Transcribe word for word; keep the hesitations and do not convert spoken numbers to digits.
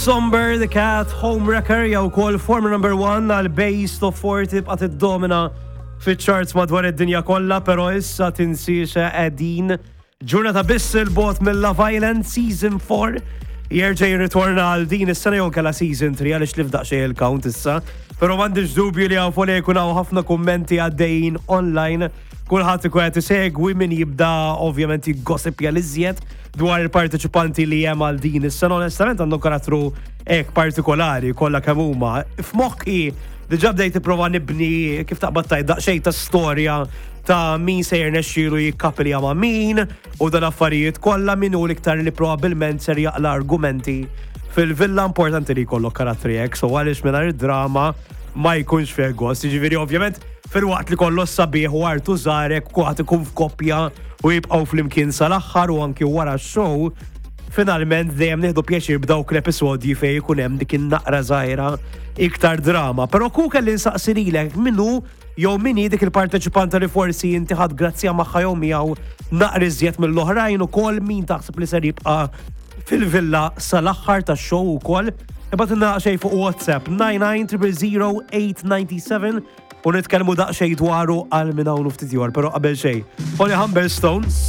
Somber the Cat, Homewrecker jew ukoll former number one għal Base Top forty bqgħet iddomina fiċ-charts madwar id-dinja kollha, però issa tinsiex qegħdin ġurnata biss 'il bogħod mill-Love Island Season four jerġa' jirritorna għal din is-sena jew kella Season three, għaliex li f'daqsxejn il-count issa. Però m'għandix dubju li hawn fuq li jkun hawn ħafna kummenti għaddejjin online. Kulħadd ikun qed isegwi min jibda ovvjament jiggossipja l-iżjed dwar il-parteċipanti li hemm għal din is-sena. Onestament għandu karattru hekk partikolari kollha kemm huma. F'moħħi diġà bdejt nipprova nibni, kif taqbad tgħid, daqsxejn ta' storja ta' min se jirnexxielu jikkapilja ma' min u dan affarijiet kollha, min hu l-iktar li probabbilment ser jaqla argumenti fil-villa. Importanti li jkollok karattri hekk, so għaliex mingħajr id-drama ma jkunx fih gost. Jiġifieri ovvjament filwaqt li kollox sabiħ u artu żarek, kulħadd ikun f'koppja u jibqgħu flimkien sal-aħħar u anki wara x-show, finalment dejjem nieħdu pjaċir b'dawk l-episodji fejn ikun hemm dik in-naqra żgħira iktar drama. Però ku kelli nsaqsi lilek min hu jew min hi dik il-parteċipanta li forsi inti ħadt grazzja magħha jew miegħu naqra iżjed mill-oħrajn, ukoll min taħseb li ser jibqa' fil-villa sal-aħħar tax-show ukoll. Ibgħatilna xejn fuq WhatsApp nine nine zero zero eight nine seven u nitkellmu daqsxejn dwaru għal minn hawn ftit ieħor, però qabel xejn. Holly Humberstone.